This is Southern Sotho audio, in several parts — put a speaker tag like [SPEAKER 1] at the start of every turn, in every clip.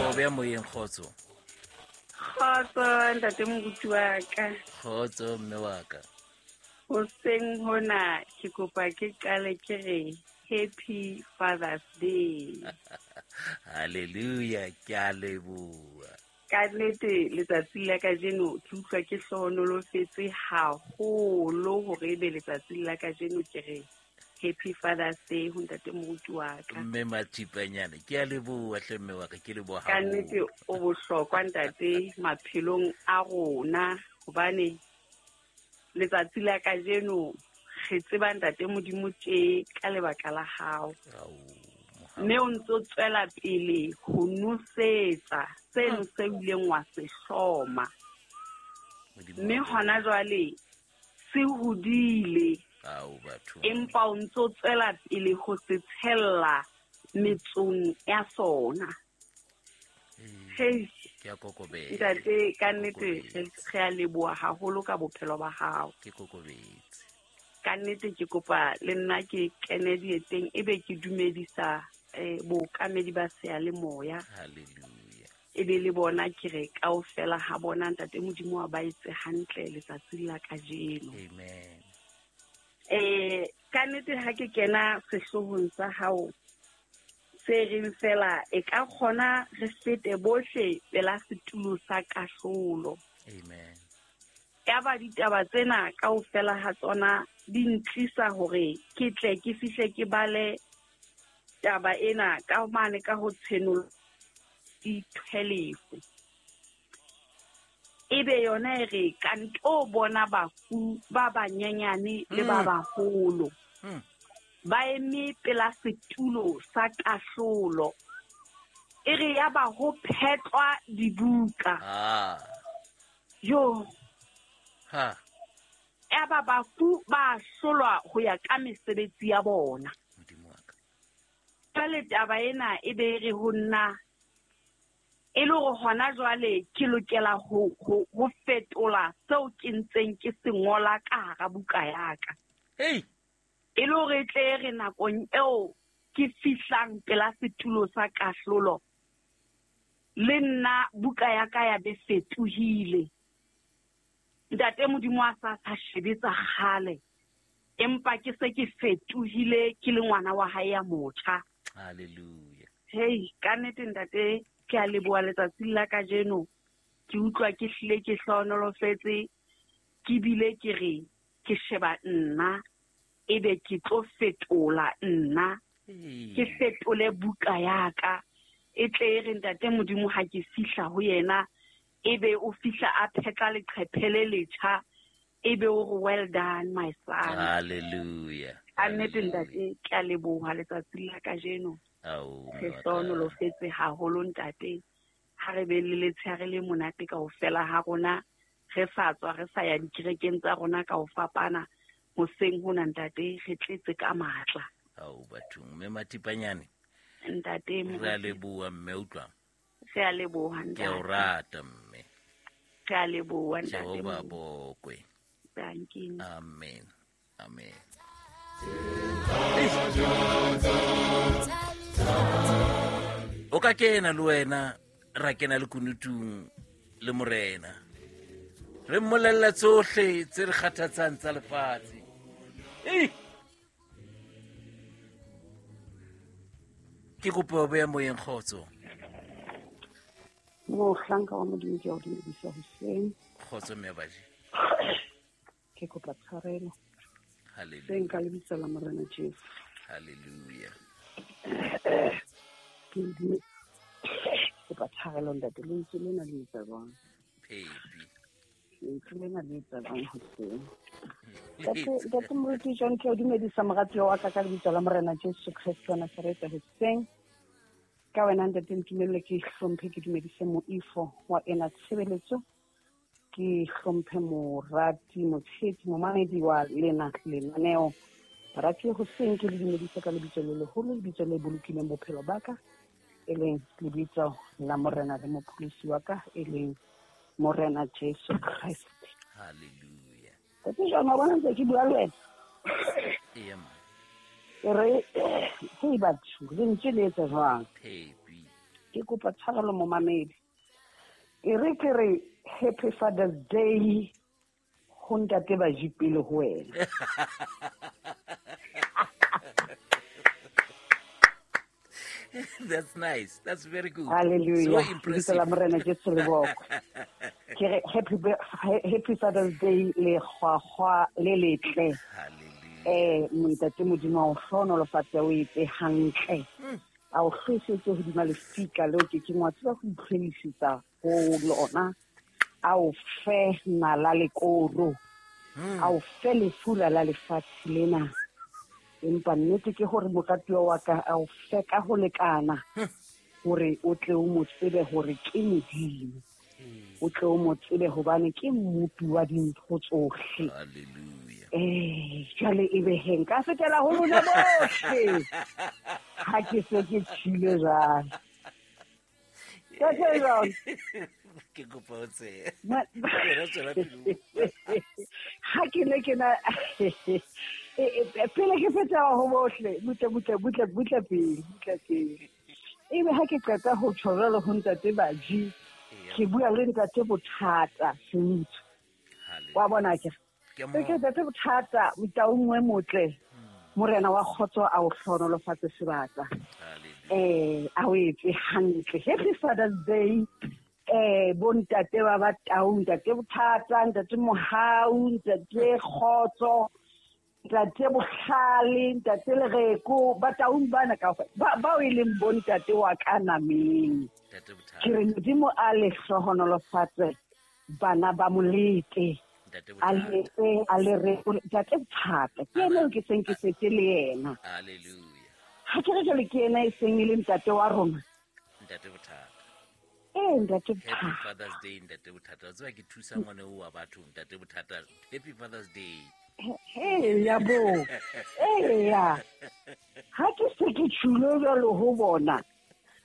[SPEAKER 1] kopa o beya moyeng, kgotso.
[SPEAKER 2] Kgotso ntate moruti wa ka.
[SPEAKER 1] Kgotso mme wa ka.
[SPEAKER 2] Hoseng hona ke kopa ke qale ke re Happy Father's Day.
[SPEAKER 1] Hallelujah, ke a leboha.
[SPEAKER 2] Ka nnete letsatsi la kajeno ke utlwa ke hlohonolofetse haholo hore ebe letsatsi la kajeno ke re Happy Father's Day ho ntate moruti wa ka.
[SPEAKER 1] Mme Mathipanyane, ke a leboha hle mme wa ka, ke leboha
[SPEAKER 2] Ka nnete o bohlokwa ntate maphelong a rona, hobane letsatsi la kajeno re tseba ntate Modimo tje ka lebaka la hao. Mme o ntso tswela pele ho nosetsa seno se ileng wa se hloma. Mme hona jwale se hodile. Empa o ntso tswela pele ho se tshella metsong ya sona. Hey,
[SPEAKER 1] ke a kokobetsa.
[SPEAKER 2] Ntate, ka nnete re a leboha haholo ka bophelo ba hao.
[SPEAKER 1] Ke kokobetse.
[SPEAKER 2] Ka nnete ke kopa le nna ke kene dieteng ebe ke dumedisa bookamedi ba seyalemoya.
[SPEAKER 1] Hallelujah.
[SPEAKER 2] Ebe le bona ke re kaofela ha bona ntate Modimo wa ba etse hantle letsatsing la kajeno.
[SPEAKER 1] Amen.
[SPEAKER 2] Ka nnete ha ke kena sehloohong sa hao se reng fela e ka kgona re fete bohle pela setulo sa kahlolo.
[SPEAKER 1] Amen.
[SPEAKER 2] Ya ba ditaba tsena kaofela ha tsona di ntlisa hore ke tle ke fihle ke bale taba ena ka mane ka ho tshenolo di-12. Ebe yona e re ka nto bona bafu ba banyenyane le ba baholo. Ba eme pela setulo sa kahlolo. E re ya ba ho phetlwa dibuka. Yo.
[SPEAKER 1] Ha.
[SPEAKER 2] Ya ba bafu ba hlolwa ho ya ka mesebetsi ya bona.
[SPEAKER 1] Modimo wa ka.
[SPEAKER 2] Jwale taba ena e be re ho nna e le hore hona jwale ke lokela ho fetola seo ke ntseng ke se ngola ka hara buka ya ka.
[SPEAKER 1] Hey.
[SPEAKER 2] E le hore e tle re nakong eo ke fihlang pela setulo sa kahlolo le nna buka ya ka ya be fetohile. Ntate Modimo a sa sa shebetsa kgale, empa ke se ke fetohile ke le ngwana wa hae ya motjha.
[SPEAKER 1] Hallelujah.
[SPEAKER 2] Hey, ka nnete ntate ke a leboha letsatsing la kajeno. Ke utlwa ke hlile ke hlohonolofetse, ke bile ke re ke sheba nna ebe ke tlo fetola nna. Ke fetole buka ya ka. E tle e re ntate Modimo ha ke fihla ho yena ebe o fihla a phetla leqephe le letjha, ebe o re well done my son.
[SPEAKER 1] Hallelujah.
[SPEAKER 2] A nnete ntate ke a leboha letsatsing la kajeno. Re hlohonolofetse haholo ntate. Ha re be le letshehare le monate kaofela ha rona, re sa tswa re sa ya dikerekeng tsa rona ka ho fapana. Hoseng hona ntate re tletse ka matla.
[SPEAKER 1] Ao bathong, mme Mathipanyane.
[SPEAKER 2] Ntate
[SPEAKER 1] re a leboha mme, utlwa.
[SPEAKER 2] Re a leboha ntate.
[SPEAKER 1] Ke a o rata mme.
[SPEAKER 2] Re a leboha ntate.
[SPEAKER 1] Jehova bokwe.
[SPEAKER 2] Thank you.
[SPEAKER 1] Amen. Amen. O ka kena le wena ra kena le kunutung le morena. Re mmolella tsohle tse re kgathatsang tsa lefatshe. Ke kopa o beya moyeng, kgotso.
[SPEAKER 3] Mohlanka wa Modimo ke a o dumedisa hoseng.
[SPEAKER 1] Kgotso mme baji.
[SPEAKER 3] Ke kopa tshwarelo.
[SPEAKER 1] Hallelujah.
[SPEAKER 3] Seng ka lebitso la Morena Jesu.
[SPEAKER 1] Hallelujah.
[SPEAKER 3] Ke kopa tshwarelo ntate, lentswe lena le etsa jwang?
[SPEAKER 1] Phepi.
[SPEAKER 3] Lentswe lena le etsa jwang hoseng? Ntate Moruti John, ke o dumedisa moratuwa wa ka ka lebitso la Morena Jesu Kreste wa Nazaretha hoseng. Ka wena ntate ntumelle ke hlomphe ke dumedise moifo wa ena tshebeletso. Ke hlomphe morati, motshehetsi, momamedi wa lena lenaneo. Barati hoseng ke le dumedise ka lebitso le leholo, lebitso le bolokileng bophelo ba ka, e leng lebitso la Morena le Mopholosi wa ka, e leng Morena Jesu Kreste.
[SPEAKER 1] Hallelujah.
[SPEAKER 3] Ntate John, wa bona ntse ke bua le wena?
[SPEAKER 1] Eya, ma.
[SPEAKER 3] Ke re, hei batho, lentswe le etsa jwang?
[SPEAKER 1] Phepi.
[SPEAKER 3] Ke kopa tshwarelo momamedi. E re ke re Happy Father's Day ho ntate Baji pele ho wena.
[SPEAKER 1] That's nice. That's very good.
[SPEAKER 3] Hallelujah.
[SPEAKER 1] So impressive.
[SPEAKER 3] Lebitso la Morena Jesu le bokwe. Ke re happy Father's Day le kgwakgwa le letle.
[SPEAKER 1] Hallelujah.
[SPEAKER 3] Ntate Modimo a o hlohonolofatse, o etse hantle. A o hlwesetse hodima lefika leo ke keng wa tseba ho itlhwelisetsa ho lona. A o fe nala le koro. A o fe lefura la lefatshe lena. Empa nnete ke hore moratuwa wa ka a o fe ka ho lekana hore o tle o mo tsebe hore ke Modimo. O tle o mo tsebe hobane ke mmopi wa dintho tsohle.
[SPEAKER 1] Hallelujah.
[SPEAKER 3] Jwale e be he nka fetela ho lona bohle. Ha ke se ke tshile jwale. Ntate John.
[SPEAKER 1] Ke kopa o tsebe. Wena tswela pele.
[SPEAKER 3] Ha ke ne ke na pele ke fetela ho bohle, butle, butle, butle, butle pele, butle pele. Ebe ha ke qeta ho tjho jwalo ho ntate Baji, ke bua le ntate Bothata Sentso. Wa bona ke?
[SPEAKER 1] Ke
[SPEAKER 3] Ke ntate Bothata, motaung e motle. Morena wa kgotso a o hlohonolofatse sebaka. A o etse hantle. Happy Father's Day. Bo ntate ba ba tau, ntate Bothata, ntate Mohau, ntate Kgotso, ntate Bohlale, ntate Lereko, ba taung bana kaofela. Bao e leng bo ntate wa ka nameng.
[SPEAKER 1] Ntate Bothata.
[SPEAKER 3] Ke re Modimo a le hlohonolofatse bana ba Molete.
[SPEAKER 1] Ntate
[SPEAKER 3] A
[SPEAKER 1] Bothata.
[SPEAKER 3] letse, a le re, ntate Bothata. Ke ena eo ke seng ke setse le yena.
[SPEAKER 1] Hallelujah.
[SPEAKER 3] Ha ke re jwale ke ena e seng e le ntate wa rona.
[SPEAKER 1] Ntate Bothata.
[SPEAKER 3] Ntate
[SPEAKER 1] Happy
[SPEAKER 3] Bothata.
[SPEAKER 1] Father's Day, ntate Bothata. Wa tseba ke thusa ngwana oo wa batho, ntate Bothata. Happy Father's Day.
[SPEAKER 3] Eya bo. Eya. Ha ke se ke tjhulo jwalo ho bona,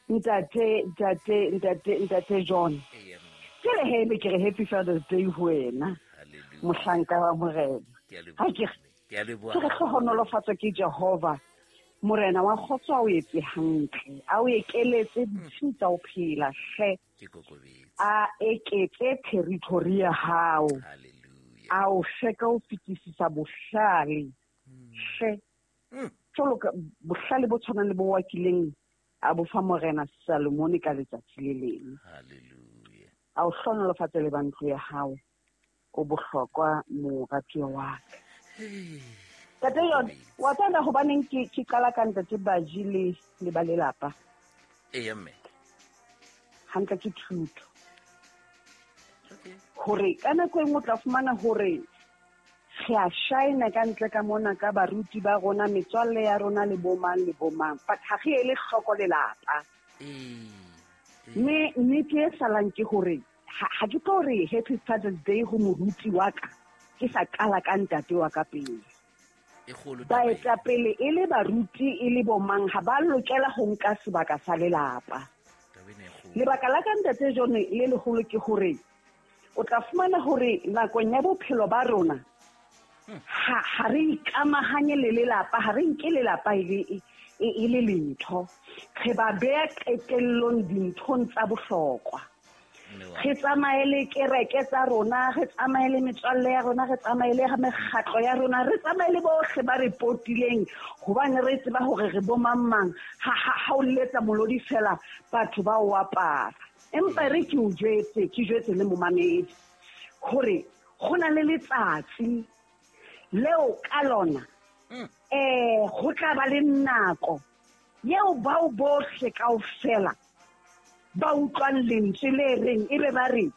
[SPEAKER 3] ntate, ntate, ntate, ntate John.
[SPEAKER 1] Eya, mme.
[SPEAKER 3] Ke re he, be ke re Happy Father's Day ho wena.
[SPEAKER 1] Hallelujah.
[SPEAKER 3] Mohlanka wa Morena.
[SPEAKER 1] Ke a leboha,
[SPEAKER 3] Ha ke re,
[SPEAKER 1] mme. Ke a leboha
[SPEAKER 3] ke re
[SPEAKER 1] haholo.
[SPEAKER 3] hlohonolofatswe ke Jehova. Morena wa kgotso a o etse hantle, a o ekeletse ditshiu tsa ho phela hle.
[SPEAKER 1] Ke kokobetse.
[SPEAKER 3] A eketse territory ya hao.
[SPEAKER 1] Hallelujah.
[SPEAKER 3] A o fe ka ho fetisisa bohlale. Hle. Jwalo ka bohlale bo tshwanang le bo wa kileng a bo fa Morena Salomone ka letsatsi le leng.
[SPEAKER 1] Hallelujah.
[SPEAKER 3] A o hlohonolofatse le ba ntlo ya hao. O bohlokwa moratuwa wa ka. Ntate John, wa tseba hobaneng ke qala ka ntate Baji le ba lelapa?
[SPEAKER 1] Eya, mme.
[SPEAKER 3] Hantle ke thuto.
[SPEAKER 1] Okay.
[SPEAKER 3] Hore ka nako e nngwe o tla fumana hore re a shine ka ntle ka mona ka baruti ba rona, metswalle ya rona le bo mang le bo mang, but ha re ele hloko lelapa. Mme nnete e salang ke hore ha ke tlo re Happy Father's Day ho moruti wa ka, ke sa qala ka ntate wa ka pele.
[SPEAKER 1] E kgolo taba eo.
[SPEAKER 3] Baetapele e le baruti e le bo mang ha ba lokela ho nka sebaka sa lelapa.
[SPEAKER 1] Taba ena e kgolo.
[SPEAKER 3] Lebaka la ka ntate John le leholo ke hore o tla fumana hore nakong ya bophelo ba rona ha re ikamahanye le lelapa, ha re nke lelapa e le lentho. Re ba beha qetellong dinthong tsa bohlokwa. Re tsamaye le kereke tsa rona, re tsamaye le metswalle ya rona, re tsamaye le mekgatlo ya rona, re tsamaye le bohle ba re potileng, hobane re tseba hore re bo mang mang. Ha o letsa molodi fela, batho ba o apara. Empa re ke o jwetse, ke jwetse le momamedi hore ho na le letsatsi leo ka lona, ho tla ba le nako eo bao bohle kaofela ba utlwang lentswe le reng, ebe ba re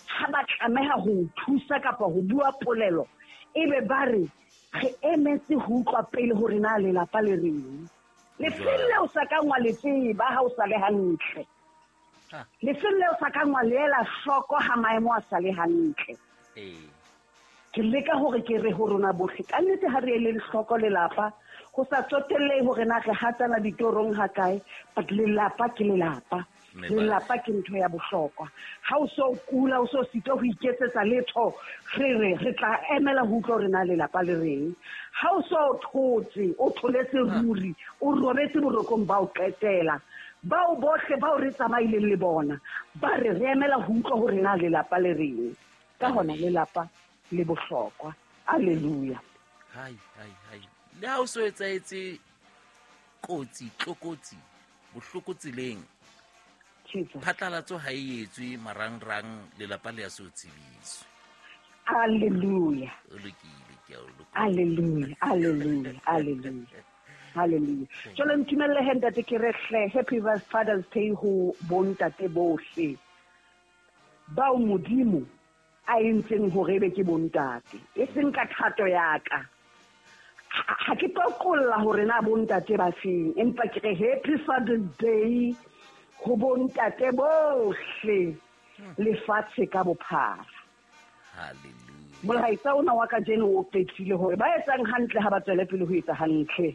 [SPEAKER 3] ha ba tlameha ho o thusa kapa ho bua polelo, ebe ba re re emetse ho utlwa pele hore na lelapa le reng. Lefeng leo sa kang wa le tseba ha o sa le hantle. Lefeng leo sa kang wa le ela hloko ha maemo a sa le hantle. Ke leka hore ke re ho rona bohle, ka nnete ha re eleng hloko lelapa, ho sa tsotellehe hore na re hatana ditorong ha kae, but lelapa ke lelapa. Lelapa ke ntho ya bohlokwa. Ha o so kula, o so sitwa ho iketsetsa letho, re re re tla emela ho utlwa hore na lelapa le reng. Ha o so thotse, o tholetse ruri, o robetse borokong ba o qetela, Bao bohle bao re tsamaileng le bona ba re re emela ho utlwa hore na lelapa le reng. Ka hona lelapa le bohlokwa. Hallelujah.
[SPEAKER 1] Hai hai hai. Le ha o so etsahetse kotsi, tlokotsi, bohloko tseleng. Phatlalatso ha e etswe marangrang, lelapa le ya so tsebiswe.
[SPEAKER 3] Hallelujah.
[SPEAKER 1] O lokile, ke a o lokolla.
[SPEAKER 3] Hallelujah, hallelujah, hallelujah. Hallelujah. Jwale ntumelle he ntate ke re hle Happy Father's Day ho bontate bohle bao Modimo a entseng hore ebe ke bontate, e seng ka thato ya ka. Ha ke tlo qolla hore na bontate ba feng, empa ke re Happy Father's Day ho bontate bohle lefatshe ka bophara.
[SPEAKER 1] Hallelujah.
[SPEAKER 3] Molaetsa ona wa kajeno o qetile hore ba etsang hantle ha ba tswele pele ho etsa hantle.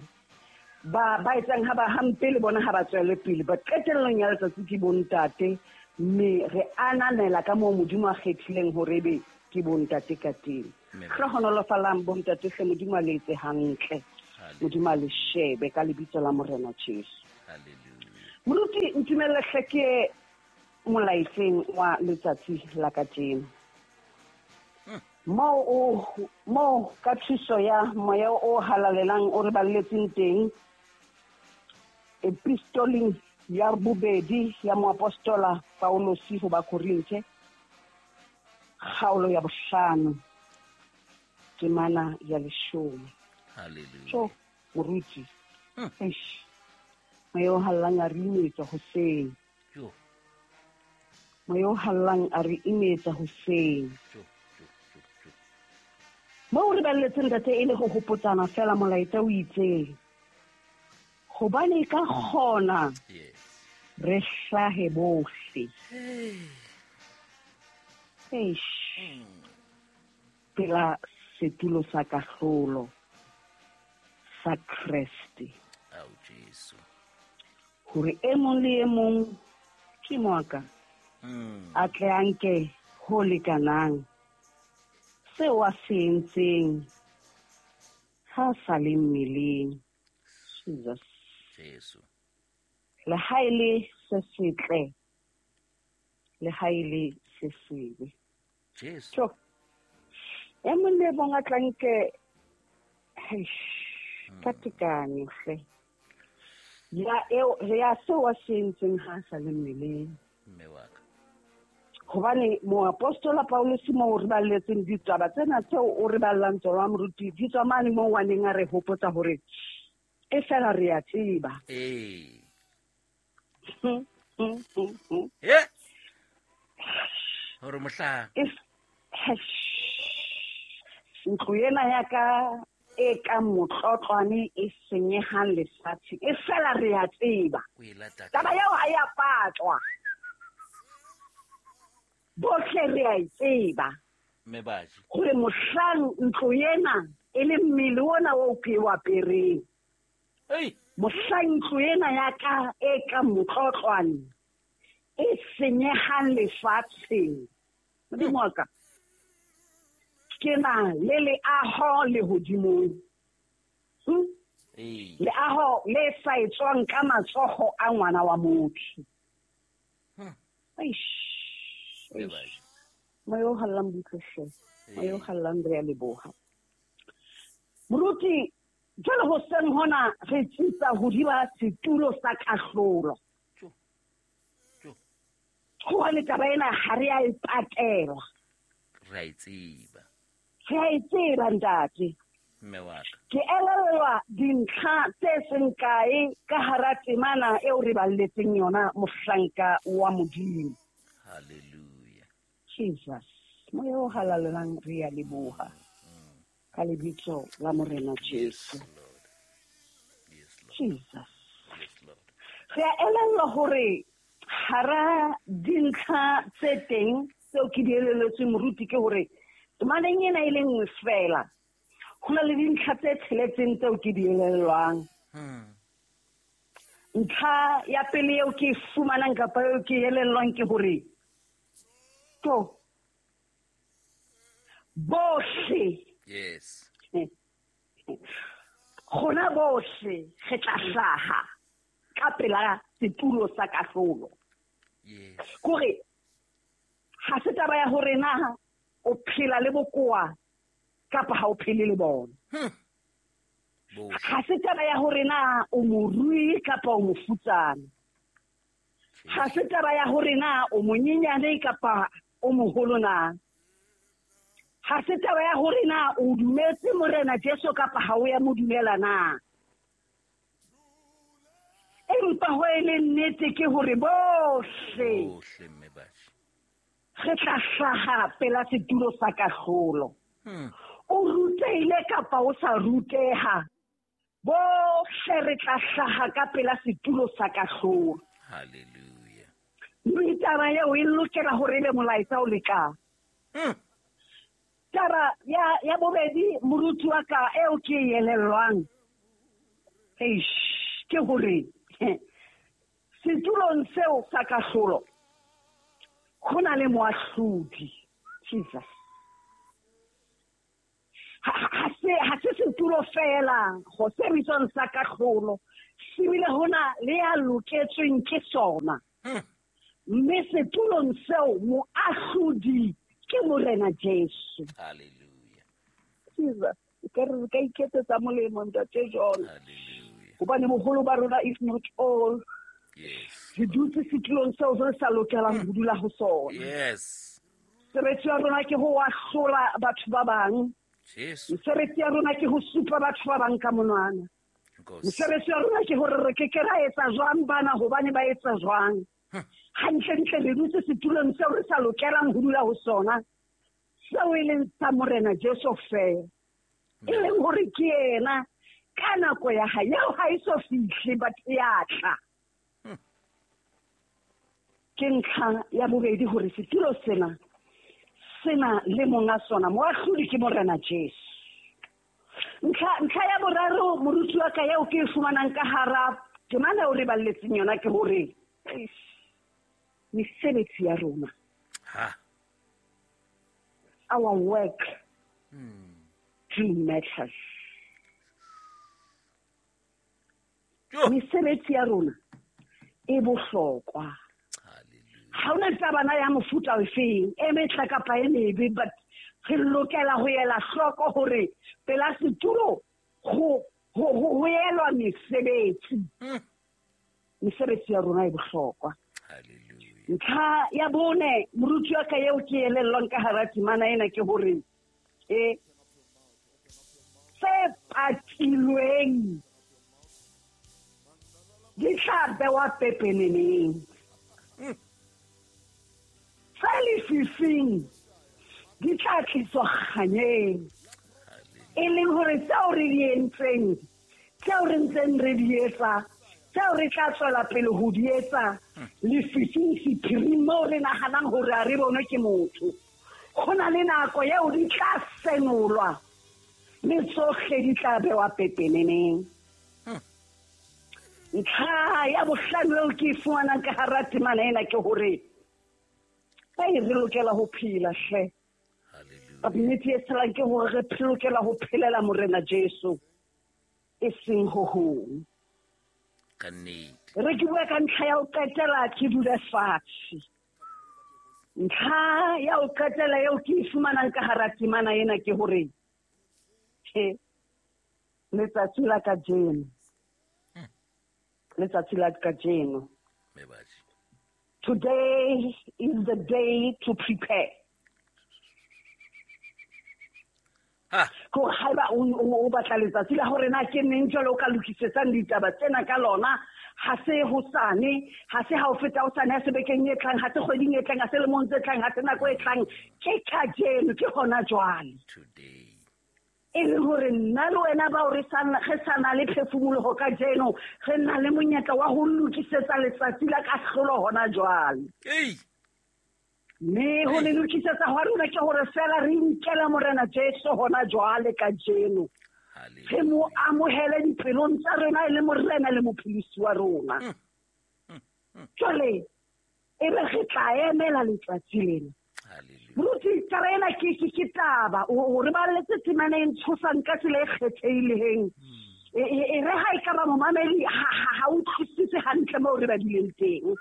[SPEAKER 3] Ba etsang ha ba hampe le bona ha ba tswele pele. Ba qetellong ya letsatsi ke bontate, mme re ananela ka moo Modimo a kgethileng hore ebe ke bontate ka teng. Hlohonolofalang bontate hle, Modimo a le etse hantle. Modimo a le shebe ka lebitso la Morena Jesu.
[SPEAKER 1] Hallelujah.
[SPEAKER 3] Moruti, ntumelle hle ke molaetseng wa letsatsi la kajeno. Moo ka thuso ya moya o halalelang o re balletseng teng epistoleng ya bobedi ya moapostola Paulosi ho Bakorinthe, kgaolo ya 5, temana ya 10.
[SPEAKER 1] Hallelujah.
[SPEAKER 3] So, moruti, eish, moya o hallang a re imetsa hoseng. Moya o hallang a re imetsa hoseng. Moo re balletseng ntate e le ho hopotsana fela molaetsa o itseng. Hobane ka kgona re hlahe bohle. Eish. Pela setulo sa kahlolo sa Kreste.
[SPEAKER 1] Ao Jesu.
[SPEAKER 3] Hore e mong le e mong ke moaka. A tle a nke ho lekanang seo a se entseng ha sa le mmeleng. Jesus.
[SPEAKER 1] Jesu.
[SPEAKER 3] Le ha e le se setle, le ha e le se sebe.
[SPEAKER 1] Jesu.
[SPEAKER 3] So, e mong le mong a tla nke ka tekanyo hle. Ya eo ya seo a se entseng ha sa le mmeleng.
[SPEAKER 1] Mme wa ka.
[SPEAKER 3] Hobane moapostola Paulus moo re balletseng ditaba tsena tseo o re ballang tsona moruti, di tswa mane moo a neng a re hopotsa hore e fela re a tseba.
[SPEAKER 1] Ee. Hore mohlang.
[SPEAKER 3] Ntlo ena ya ka e ka motlotlwane e senyehang lefatshe, e fela re a tseba. Taba eo ha ya patlwa. Bohle re a e tseba. Hore mohlang ntlo ena e le mmele ona o ke o apereng. Mohlang ntlo ena ya ka e ka motlotlwane e senyehang lefatsheng. Modimo wa ka, ke na le leaho lehodimong. Leaho le sa etswang ka matsoho a ngwana wa motho. Eish. Moya o hallang butle hle. Moya o hallang re a leboha. Moruti, jwale hoseng hona re tsitsa hodima setulo sa kahlolo. Hobane taba ena ha re a e patela.
[SPEAKER 1] Re a e tseba.
[SPEAKER 3] Re a e tseba ntate.
[SPEAKER 1] Mme wa ka.
[SPEAKER 3] Ke elellwa dintlha tse seng kae ka hara temana eo re balletseng yona mohlanka wa Modimo.
[SPEAKER 1] Hallelujah.
[SPEAKER 3] Jesus. Moya o halalelang re a leboha. Ka lebitso la Morena Jesu.
[SPEAKER 1] Yes, Lord.
[SPEAKER 3] Jesus.
[SPEAKER 1] Yes, Lord.
[SPEAKER 3] Re a elellwa hore hara dintlha tse teng tseo ke di elelletsweng moruti ke hore temaneng ena e le nngwe fela ho na le dintlha tse tsheletseng tseo ke di elellwang. Ntlha ya pele eo ke e fumanang kapa eo ke elellwang ke hore to bohle.
[SPEAKER 1] Yes.
[SPEAKER 3] Rona bohle re tla hlaha ka pela setulo sa kahlolo.
[SPEAKER 1] Yes.
[SPEAKER 3] Kore ha se taba ya hore na o phela le bokoa kapa ha o phele le bona. Ha se taba ya hore na o morui kapa o mofutsana. Ha se taba ya hore na o monyenyane kapa o moholo na. Ha se taba ya hore na o dumetse Morena Jesu kapa ha o ya mo dumela na. Empa ho e le nnete ke hore bohle
[SPEAKER 1] mme batjha
[SPEAKER 3] re tla hlaha pela setulo sa kahlolo. O rutehile kapa o sa ruteha, bohle re tla hlaha ka pela setulo sa kahlolo.
[SPEAKER 1] Hallelujah.
[SPEAKER 3] Mme taba eo e lokela hore ebe molaetsa o lekang. Taba ya bobedi moruti wa ka eo ke e elellwang, eish, ke hore setulong seo sa kahlolo ho na le moahlodi. Jesus. Ha se setulo fela go se bitswang sa kahlolo, se bile ho na le ya loketsweng ke sona. Mme setulong seo moahlodi ke Morena Jesu.
[SPEAKER 1] Hallelujah.
[SPEAKER 3] Jesus, ka re ka iketsetsa molemo ntate John.
[SPEAKER 1] Hallelujah.
[SPEAKER 3] Hobane boholo ba rona if not all,
[SPEAKER 1] yes,
[SPEAKER 3] re dutse setulong seo re sa lokelang ho dula ho sona.
[SPEAKER 1] Yes.
[SPEAKER 3] Mosebetsi wa rona ke ho ahlola batho ba bang.
[SPEAKER 1] Jesu.
[SPEAKER 3] Mosebetsi ya rona ke ho supa batho ba bang ka monwana. Mosebetsi wa rona ke hore re ke ke ra etsa jwang bana hobane ba etsa jwang. Hantlentle re dutse setulong seo re sa lokelang ho dula ho sona, seo e leng sa Morena Jesu feela. E leng hore ke yena ka nako ya hae, eo ha e so fihle but e a tla. Ke ntlha ya bobedi hore setulo sena sena le monga sona, moahlodi ke Morena Jesu. Ntlha ya boraro moruti wa ka eo ke e fumanang ka hara temana eo re balletseng yona ke hore mesebetsi ya rona, our work do matters. Mesebetsi ya rona e bohlokwa. Ha hona taba ya mofuta ofeng, e metla kapa e mebe, but re lokela ho ela hloko hore pela setulo ho elwa mesebetsi. Mesebetsi ya rona e bohlokwa. Ntlha ya bone moruti wa ka eo ke elellwang ka hara temana ena ke hore tse patilweng di tla bewa pepeneneng, tse lefifing di tla tliswa kganyeng. E leng hore tseo re di entseng, tseo re ntseng re di etsa, tseo re tla tswela pele ho di etsa lefifing sephiring moo re nahanang hore ha re bonwe ke motho, ho na le nako eo di tla senolwa mme tsohle di tla bewa pepeneneng. Ntlha ya bohlano eo ke e fumanang ka hara temana ena ke hore re lokela ho phela hle. Nnete e tshelang ke hore re lokela ho phelela Morena Jesu, e seng ho hong. Re ke bua ka ntlha ya ho qetela ke dule fatshe. Ntlha ya ho qetela eo ke e fumanang ka hara temana ena ke hore letsatsi la kajeno, letsatsi la kajeno, today is the day to prepare. Ko haeba o batla letsatsi la hore na ke neng jwale o ka lokisetsang ditaba tsena ka lona, ha se hosane, ha se ha o feta hosane, ha se bekeng e tlang, ha se kgweding e tlang, ha se lemong tse tlang, ha se nako e tlang, ke kajeno, ke hona jwale.
[SPEAKER 1] Today.
[SPEAKER 3] E le hore nna le wena bao re sa na le phefumoloho kajeno, re na le monyetla wa ho lokisetsa letsatsi la kahlolo hona jwale. Mme ho le lokisetsa hwa rona ke hore fela re inkela Morena Jesu hona jwale kajeno. Re mo amohele dipelong tsa rona e le Morena le mopholosi wa rona. Jwale e be re tla emela letsatsi lena. Moruti, taba ena ke taba. O re balletse temana e ntshosang ka tsela e kgethehileng. E re ha e ka ba momamedi ha utlwisise hantle moo re badileng teng.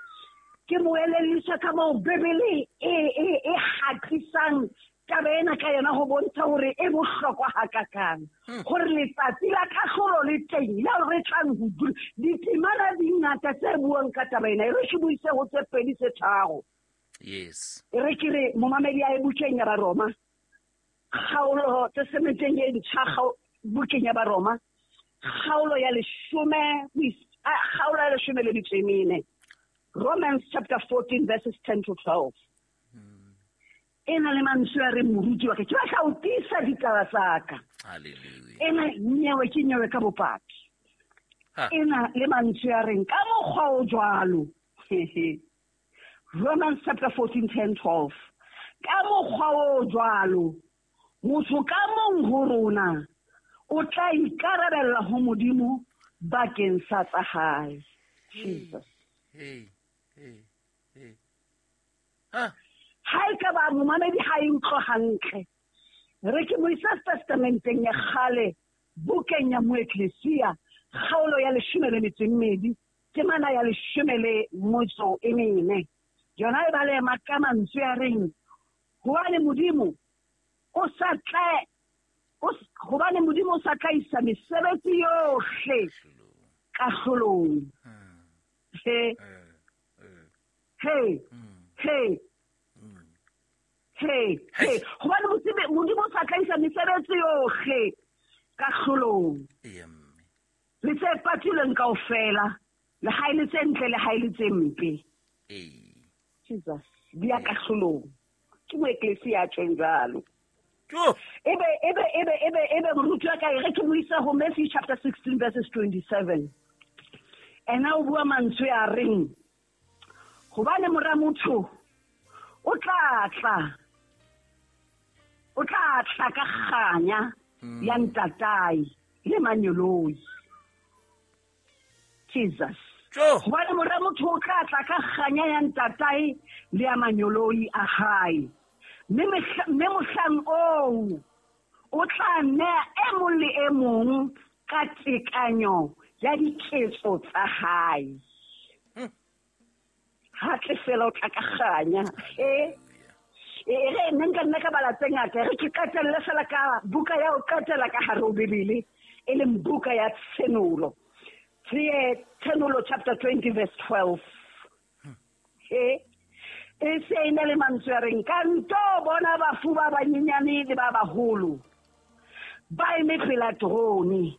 [SPEAKER 3] Ke mo elelliswa ka moo Bibele e hatisang taba ena ka yona ho bontsha hore e bohlokwa hakakang. Hore letsatsi la kahlolo le teng leo re tlang ho dula. Ditemana di ngata tse buang ka taba ena. E re ke buise ho tse pedi tse tharo.
[SPEAKER 1] Yes.
[SPEAKER 3] E re ke re momamedi a e bukeng ya Baroma. Kgaolo testamenteng e ntjha bukeng ya Baroma. Kgaolo ya leshome kgaolo ya leshome le metso e mene. Romans chapter 14 verses 10 to 12. Ena le mantswe a re moruti wa ka ke batla ho tiisa ditaba tsa ka.
[SPEAKER 1] Hallelujah.
[SPEAKER 3] Ena nyewe ke nyewe ka bopaki. Ena le mantswe a reng ka mokgwa o jwalo. Romans chapter 14 10 12. Ka mokgwa o jwalo motho ka mong ho rona o tla ikarabella ho Modimo bakeng sa tsa hae. Jesus.
[SPEAKER 1] Hey, hey, hey. Ha
[SPEAKER 3] ha e ka ba momamedi ha e utlwe hantle. Re ke mo isa testamenteng ya kgale bukeng ya Moeklesia kgaolo ya 12 temana ya 14. Yona e bale ka mantswe a reng hobane Modimo o sa tla hobane Modimo o sa tla isa mesebetsi yohle kahlolong. He he he he he hobane Modimo o sa tla isa mesebetsi yohle kahlolong. Le tse patilweng kaofela le ha e le tse ntle le ha e le tse mpe. Jesus di ya kahlolong. Ke Moeklesia a tjhong jwalo. Ebe moruti wa ka e re ke mo isa ho Matthew chapter 16 verses 27. Ena o bua mantswe a reng hobane mora motho o tla tla ka kganya ya ntatae le manyoloi. Jesus. Hobane mora motho o tla tla ka kganya ya ntatae le ya manyoloi a hae. Mme mohlang oo o tla nea e mong le e mong ka tekanyo ya diketso tsa hae. Ha tle fela o tla ka kganya. E re nna nka nna ka bala tse ngata, re ke qetelle fela ka buka ya ho qetela ka hare ho Bibele, e leng buka ya Tshenolo. Tshenolo chapter 20 verse 12. E se e na le mantswe a reng ka nto bona bafu ba banyenyane le ba baholo ba eme pela terone.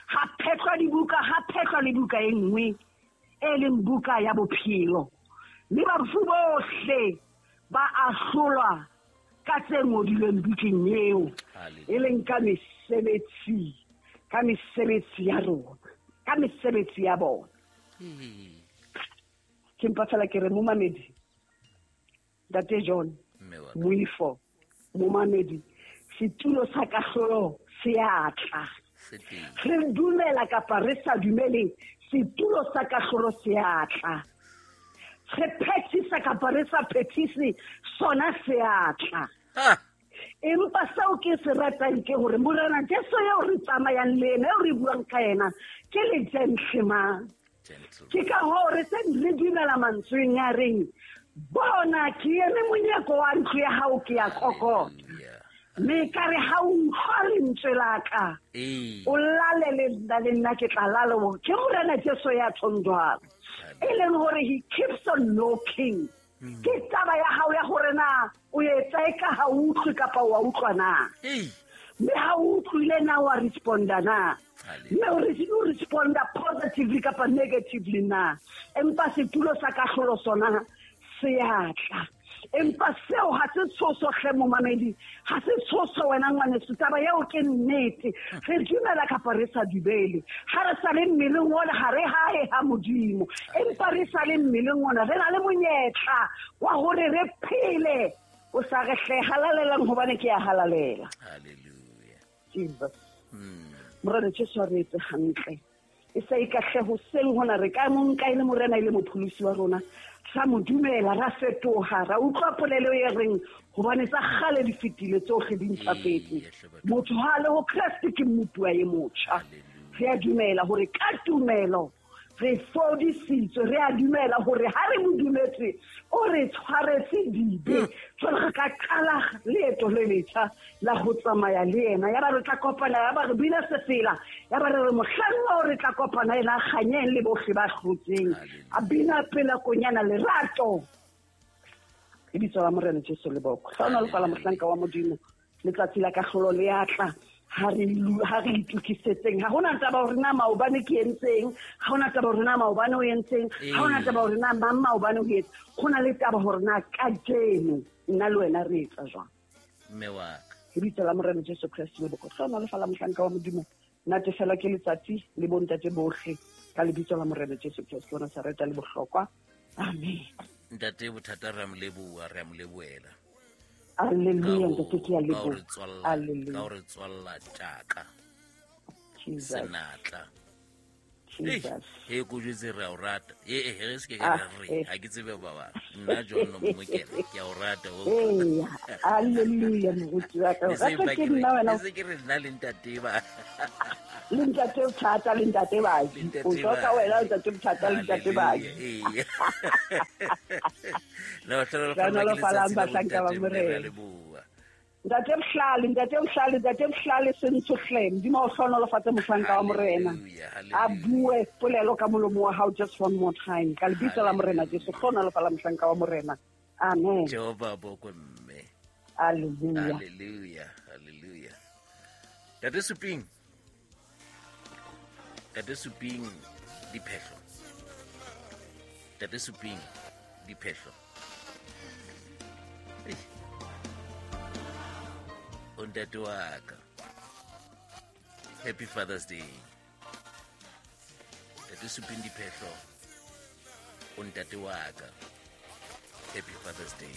[SPEAKER 3] Ha phetlwa dibuka, ha phetlwa le buka e nngwe e leng buka ya bophelo. Mme bafu bohle ba ahlolwa ka tse ngodilweng bukeng eo, e leng ka mesebetsi ya rona, ka mesebetsi ya bona. Ke mpa fela ke re momamedi Ntate John Moifo, momamedi, setulo sa kahlolo se a tla. Re dumela kapa re sa dumele, setulo sa kahlolo se a tla. Re phethisa kapa re sa phethise, sona se a tla. Empa seo ke se ratang ke hore Morena Jesu eo re tsamayang le ena, eo re buang ka yena, ke le gentleman. Ke ka hoo re se re dumela mantsweng a reng bona ke eme monyako wa ntlo ya hao ke ya kokota. Mme ka re ha o utlwa lentswe la ka, o lale le nna ke tla lala. Ke Morena Jesu ya tjhong jwalo. E leng hore he keeps on knocking. Ke taba ya hao ya hore na o etsa e ka ha o utlwe kapa wa utlwa na. Mme ha o utlwile na wa responda na. Mme o responda positively kapa negatively na. Empa setulo sa kahlolo sona se a tla. Empa seo ha se tshoso hle momamedi, ha se tshoso wena ngwaneso, taba eo ke nnete. Re dumela kapa re sa dumele, ha re sa le mmeleng ona ha re hae ha Modimo, empa re sa le mmeleng ona re na le monyetla wa hore re phele. O sa re hle halalelang hobane ke ya halalela.
[SPEAKER 1] Hallelujah.
[SPEAKER 3] Jesus. Morena Jesu a re etse hantle. E sa ikahle hoseng hona re ka mo nka e le Morena e le mopholosi wa rona. Ra mo dumela, ra fetoha, ra utlwa polelo e reng hobane tsa kgale di fetile tsohle di ntjhafetse. Motho ha le ho Kreste ke mmupuwa e motjha. Re a dumela hore ka tumelo re fodisitswe, re a dumela hore ha re mo dumetse o re tshwaretse dibe. Jwale re ka qala leeto le letjha la ho tsamaya le yena. Ya ba re tla kopana, ya ba re bina sefela, ya ba re re mohlang oo re tla kopana yena kganyeng le bohle ba hlotseng. A bina pela konyana lerato. Lebitso la Morena Jesu le boko. Hlohonolofala mohlanka wa Modimo. Letsatsi la kahlolo le atla. Ha re itokisetseng. Ha hona taba hore na maobane ke entseng, ha hona taba hore na maobane o entseng, ha hona taba hore na mang maobane o etse. Ho na le taba hore na kajeno nna le wena re etsa jwang.
[SPEAKER 1] Mme wa ka.
[SPEAKER 3] Lebitso la Morena Jesu Kreste le boko. Hlohonolofala mohlanka wa Modimo. Natefela ke letsatsi le bontate bohle ka lebitso la Morena Jesu Kreste wa Nazareta le bohlokwa. Amen.
[SPEAKER 1] Ntate bothata re a mo leboha, re a mo lebohela.
[SPEAKER 3] Alleluia, ntate ke a leboha.
[SPEAKER 1] Alleluia. Ka re tswalla tjaka. Senatla.
[SPEAKER 3] Jesus.
[SPEAKER 1] He ko jwetse re a o rata. E re se ke ka re ha ke tsebe ba bang. Nna John Mmokela ke a o rata.
[SPEAKER 3] Ee, alleluia moruti wa ka. Rata ke nna wena.
[SPEAKER 1] Se ke re nna le ntate ba.
[SPEAKER 3] Le ntate bothata le ntate baji. O tswa wena ntate bothata le ntate baji.
[SPEAKER 1] Ee. No,
[SPEAKER 3] hlohonolofalang bahlanka ba Morena. Ntate Bohlale, ntate Bohlale, ntate Bohlale sentsho hle. Modimo o hlohonolofatse mohlanka wa Morena. A bue polelo ka molomo wa hao just one more time. Ka lebitso la Morena Jesu, hlohonolofala mohlanka wa Morena. Amen.
[SPEAKER 1] Jehova bokwe mme.
[SPEAKER 3] Hallelujah.
[SPEAKER 1] Hallelujah. Hallelujah. Ntate Suping. Ntate Suping diphehlo. Ntate Suping diphehlo. O ntate wa ka. Happy Father's Day. Ntate Suping diphehlo. O ntate wa ka. Happy Father's Day.